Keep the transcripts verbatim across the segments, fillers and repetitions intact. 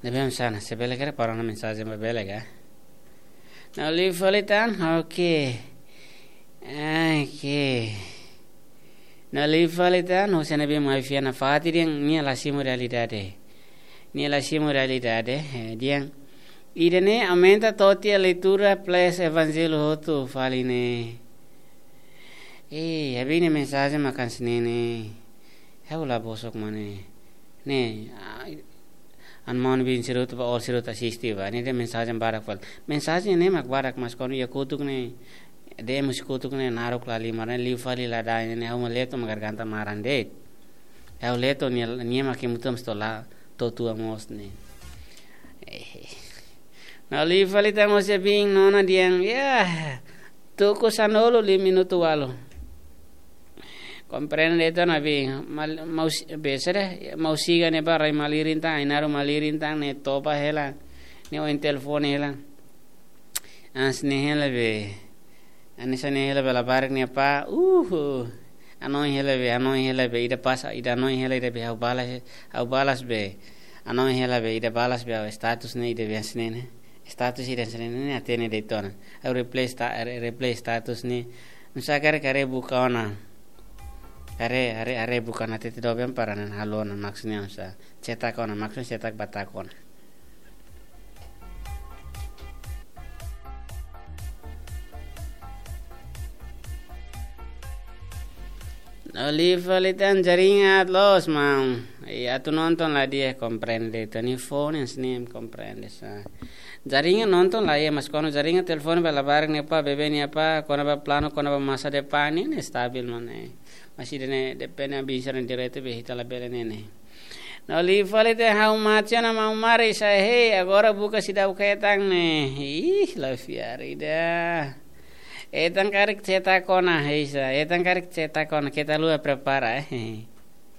Ne'ebé hanesan ne'e, se bele karik para ona mensajen ba bele ka? Ne'e liu fali tan, oke. Oke. Ne'e liu fali tan, husi ne'ebé mai fiar nafatin dehan nia la simu realidade. Nia la simu realidade, eh, dehan. Ida-ne'e aumenta to'o tiha leitura plus evanjellu hotu fali ne'e. Eh, ha'u-nia mensajen mak hanesan ne'e. Ha'u la bosok mak ne'e. Ne'e, ah, an maun bin sira hotu ba, all sira hotu asiste ba. Ne'e dehan mensajen barak fali. Mensajen ne'e mak barak, mas kuandu iha kotuk ne'e, dehan husi kotuk ne'e naruk la halimar ne'e, liu fali la da'et ne'e, ha'u mak leto mak garganta maran de'it. Ha'u leto nia, nia mak kemu tum stola totua mós ne'e. Eh. Ne'e liu fali tan, mós iha bin nona dehan, ya, tuku sanulu liu minutu ualu. Komprende de'it ona bin, mal, maus, be, sede, mau siga ne'e ba rai malirin tan, ai-naruk malirin tan, ne'e toba hela, ne'e oin telefone hela. Hanesan ne'e hela be, hanesan ne'e hela be labarik nia apá, uh, hanoin hela be, hanoin hela be, ida pasa, ida hanoin hela ida be, ha'u balas, ha'u balas be, hanoin hela be, ida balas be, ha'u status ne'e ida be hanesan ne'e ne'e. Status ida hanesan ne'e ne'e, hatene de'it ona. Ha'u reply sta-, re-, reply status ne'e. Nusá karik haree buka ona. Haree, haree, haree buka ona hatete doben para ne'e halo ona, maksudnya nusá. Cetak ona, maksudnya cetak batak ona. Ne'e liu fali tan, jaringan aat loos, maun. Iya, atu nonton la di'ak, komprende. Telefone hanesan ne'e komprende sa. Jaringan nonton la iha, mas kuandu jaringan telefone ba labarik nia apá, bebé nia apá, kona-ba planu, kona-ba masa depan ne'e, ne'e stabil mak ne'e. Mas ida-ne'e depende, bisa direto be ita labele ne'e ne'e. Ne'e liu fali tan, ha'u mate ona maun Maris, hei, agora buka seidauk hetan ne'e. Ih, la fiar ida. Hetan karik cetak ona, heisa. Hetan karik cetak ona, keta haluha prepara, eh.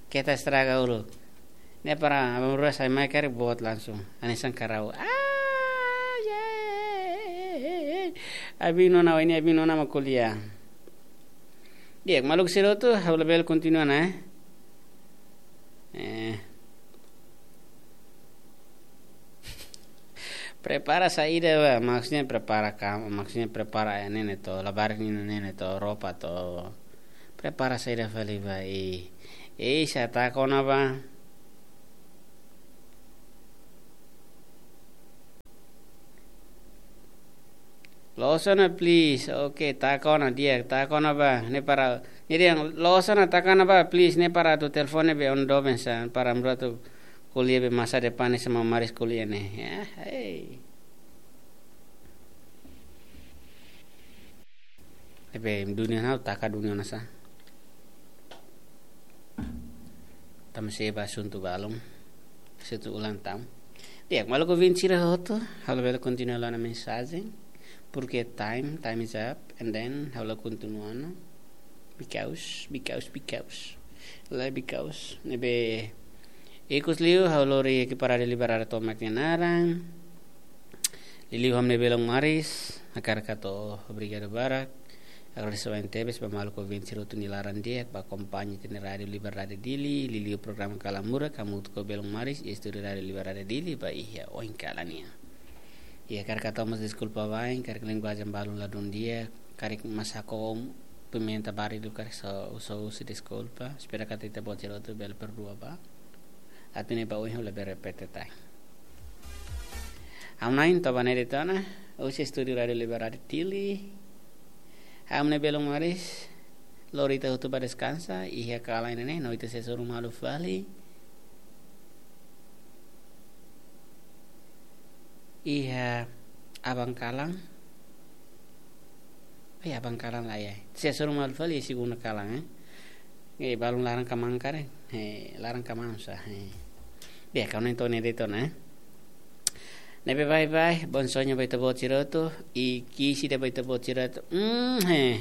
Keta estraga uluk. Ne'e para abang rua sai mai karik boot langsung. Hanesan karau. Ah, yeah. Abin nona, ini abin nona mak ko'alia. Di'ak, maluk sira hotu, ha'u labele kontinua ona, eh. Eh. Prepara saida ba, maksudnya prepara kam-, maksudnya prepara, eh, ne'e ne'e to, labarik nia ne'e ne'e to, roupa to. Prepara saida fali ba, eh. Eh, sa taka ona ba. Loos ona, please. Oke, taka ona di'ak, taka ona ba. Ne'e para, ne'e dehan loos ona, taka ona ba, please. Ne'e para atu telefone be oin doben sa, para amra atu ko'alia be masa depan ne'e, sama Maris ko'alia ne'e. Ya, hei. Ne'ebé dunia nau taka dunia nasa. Tama sei ba asuntu balun. Asuntu ulang tahun. Di'ak, maluk ouvinte sira hotu, ha'u labele kontinua ona mensajen. Porque time, time is up, and then ha'u la kontinua ona. Because, because, because. La because. Ne'ebé ikus liu, ha'u lori ekipa Rádiu Liberdade tomak nia naran. Liuliu ha'u-nia belun Maris, hakarak hato'o obrigadu barak. Agradese barak tebes ba maluk ouvinte sira hotu nia laran di'ak, ba akompaña ita-nia Rádiu Liberdade Dili, liuliu programa Kalan Murak, hamutuk ho belun Maris, iha estúdiu Rádiu Liberdade Dili, ba iha oin kalan nian. I hakarak hato'o mós deskulpa wa'in, karik linguajen balun ladún di'ak, karik masak ho pimenta barak liu karik só, só husi deskulpa, espera katak ita-boot sira hotu bele perdua ba. Atu nune'e ba oin ha'u labele repete tan. Ha'u-nia naran Tobane de Tona, husi estúdiu Rádiu Liberdade Dili. Ha'u-nia belun Maris, lori ita hotu ba deskansa, iha kalan ne'e, no ita sei hasoru malu fali. Iha aban kalan. Ai, aban kalan la iha. Sei hasoru malu fali segunda kalan, eh. Eh, balun laran kaman karik. Eh, laran kaman sa, eh. Di'ak, ha'u-nia naran Tobane de Tona, eh. Ne'ebé bye bye, bom sonho ba ita-boot sira hotu, i ki'ik ida ba ita-boot sira hotu. Mm, eh.